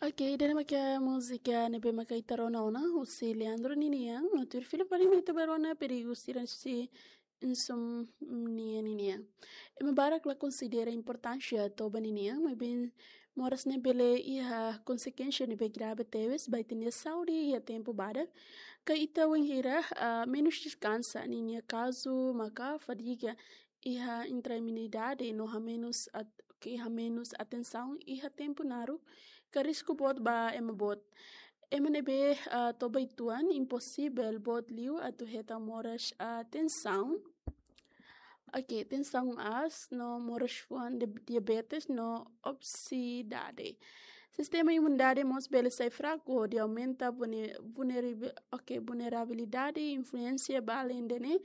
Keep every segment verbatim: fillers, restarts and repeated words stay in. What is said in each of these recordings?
Ok, ida-ne'e mak múzika ne'ebé maka ita rona ona, husi Leandro ninian, no tuir fila fali mai ita bá rona perigu sira husi insomnia ninian. Ema barak la konsidera importánsia toba ninian, maibé moras ne'e bele iha konsekuénsia ne'ebé grave tebes ba ita-nia saúde iha tempu badak. Ka ita wainhira, ah, menus deskansa, ninia kazu maka fadiga, iha intranquilidade no hamenus at-, ke hamenus atensaun iha tempu naruk, ka risku boot ba ema boot. Ema ne'ebé, ah, toba uitoan imposivel boot liu atu hetan moras, ah, tensaun. Ok, tensaun aas no moras fuan de diabetes no obesidade. Sistema imunidade mós bele sai fraku hodi aumenta vulne-, vulnerabi-, ok, vulnerabilidade, influénsia ba além de ne'e,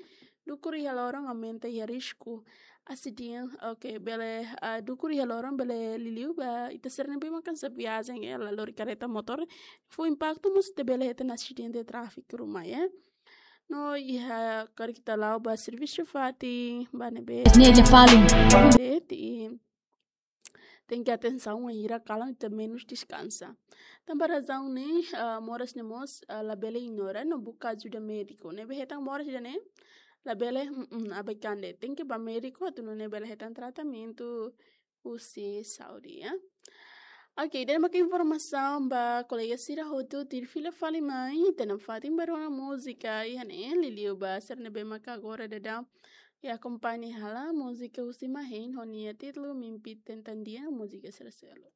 dukur iha loron aumenta iha risku asidente, ok, bele, ah, dukur iha loron bele liuliu ba ita sira ne'ebé maka kansa viajen, eh, la lori kareta motór, fó impaktu mós ita bele hetan asidente tráfiku ruma, eh. No iha karik ita la'o ba servisu fatin, ba ne'ebé. Ne'e ida fali. Ita tenke atensaun wainhira kalan ita menus deskansa. Tanba razaun ne'e, ah, moras ne'e mós, ah, labele ignora no buka ajuda médiku. Ne'ebé hetan moras ida-ne'e, labele, mm, mm, abaikan de'it. Tenke bá médiku atu nune'e bele hetan tratamentu husi saúde, ya. Ok, ida-ne'e mak informasaun ba kolega sira hotu, tuir fila fali mai ita-nia fatin bá rona múzika iha ne'e, liuliu ba sira ne'ebé maka agora daudaun akompaña hela múzika husi Mahen ho nia títulu Mimpi Tentang Dia, múzika sira seluk.